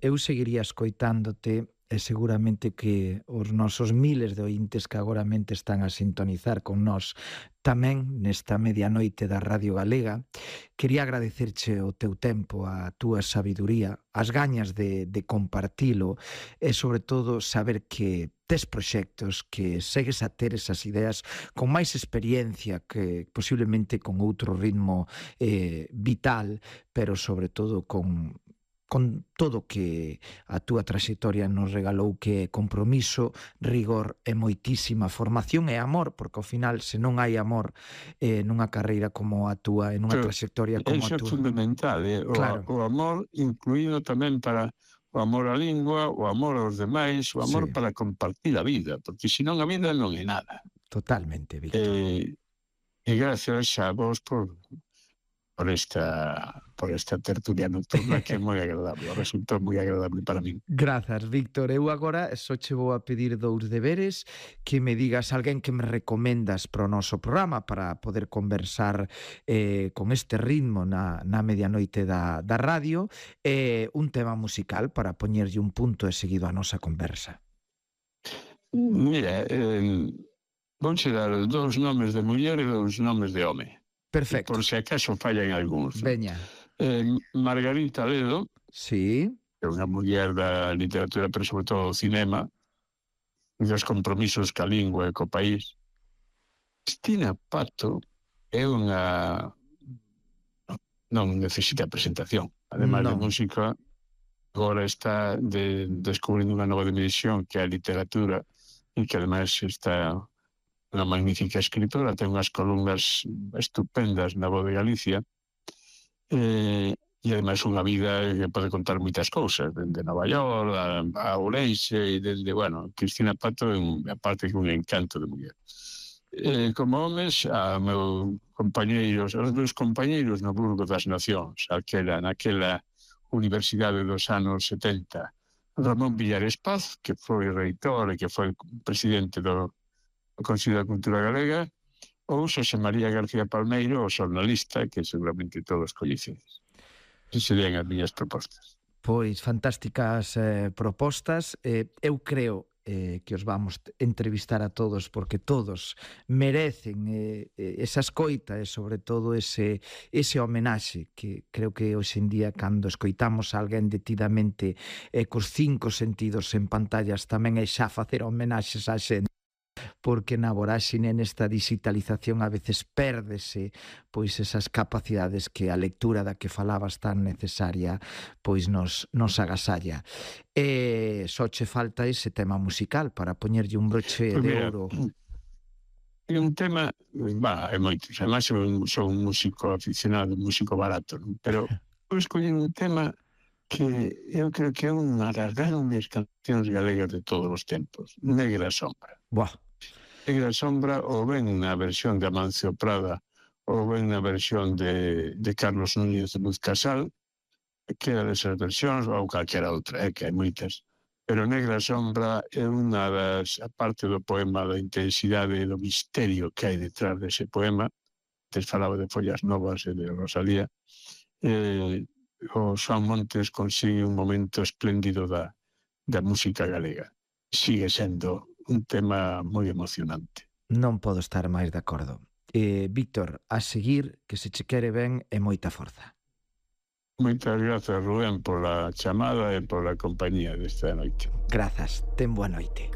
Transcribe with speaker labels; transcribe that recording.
Speaker 1: eu seguiría escoitándote e seguramente que os nosos miles de ointes que agoramente están a sintonizar con nós tamén nesta medianoite da Radio Galega. Quería agradecerche o teu tempo, a túa sabiduría, as gañas de compartilo e sobre todo saber que tes proxectos, que segues a ter esas ideas con máis experiencia, que posiblemente con outro ritmo vital, pero sobre todo con todo que a túa traxectoria nos regalou, que é compromiso, rigor e moitísima formación e amor, porque ao final, se non hai amor nunha carreira como a túa, e nunha
Speaker 2: Pero
Speaker 1: traxectoria como a
Speaker 2: iso é
Speaker 1: túa.
Speaker 2: fundamental,
Speaker 1: Claro,
Speaker 2: o amor incluído tamén para o amor á lingua, o amor aos demais, o amor
Speaker 1: sí,
Speaker 2: para compartir a vida, porque senón a vida non é nada.
Speaker 1: totalmente, Víctor.
Speaker 2: E, e gracias a vos por esta tertulia nocturna que é moi agradable, resultou moi agradable para min.
Speaker 1: Grazas, Víctor. Eu agora só che vou a pedir dous deberes, que me digas alguén que me recomendas para o noso programa para poder conversar con este ritmo na medianoite da radio, e un tema musical para poñerlle un punto e seguido a nosa conversa.
Speaker 2: Mira, vouche dar 2 nomes de muller e 2 nomes de home.
Speaker 1: Perfecto.
Speaker 2: Por se acaso fallan algúns.
Speaker 1: Veña.
Speaker 2: Margarita Ledo,
Speaker 1: Sí.
Speaker 2: é unha muller da literatura, pero sobre todo do cinema, dos compromisos ca lingua e co país. Cristina Pato é unha... non necesita presentación. Ademais de
Speaker 1: Non.
Speaker 2: música, agora está descubrindo unha nova dimensión que é a literatura, e que ademais está unha magnífica escritora, ten unhas columnas estupendas na Voz de Galicia, e ademais unha vida que pode contar moitas cousas, dende Nova York a Ourense, e desde, bueno, Cristina Pato é aparte que un encanto de muller. Como homes, aos meus compañeiros no Burgo das Nacións, naquela universidade dos anos 70, Ramón Villares Paz, que foi reitor e que foi presidente do Consello da Cultura Galega, ou Xosé María García Palmeiro, o xornalista, que seguramente todos coñecedes. Esas serían as miñas propostas.
Speaker 1: Pois fantásticas propostas. Eu creo que os vamos entrevistar a todos, porque todos merecen esa escoita e sobre todo ese homenaxe que creo que hoxe en día, cando escoitamos a alguén detidamente cos 5 sentidos en pantallas, tamén é xa facer homenaxes á xente, porque na voráxine nesta digitalización a veces pérdese pois esas capacidades que a lectura da que falabas tan necesaria pois nos agasalla. E só che falta ese tema musical para poñerlle un broche de ouro.
Speaker 2: É un tema, é moitos, además son un músico aficionado, un músico barato, non? Pero vou escoller un tema que eu creo que é unha das grandes cancións galegas de todos os tempos, Negra Sombra.
Speaker 1: Buah.
Speaker 2: Negra Sombra, ou ben na versión de Amancio Prada, ou ben na versión de Carlos Núñez de Luz Casal, que era desas versións, ou calquera outra, que hai moitas. Pero Negra Sombra é unha das, aparte do poema, da intensidade e do misterio que hai detrás dese poema, antes falaba de Follas Novas e de Rosalía, o Xoán Montes consigue un momento espléndido da música galega. Sigue sendo un tema moi emocionante.
Speaker 1: Non podo estar máis de acordo. Víctor, a seguir, que se che quere ben e moita forza.
Speaker 2: Moitas grazas, Rubén, pola chamada e pola compañía desta noite.
Speaker 1: Grazas, ten boa noite.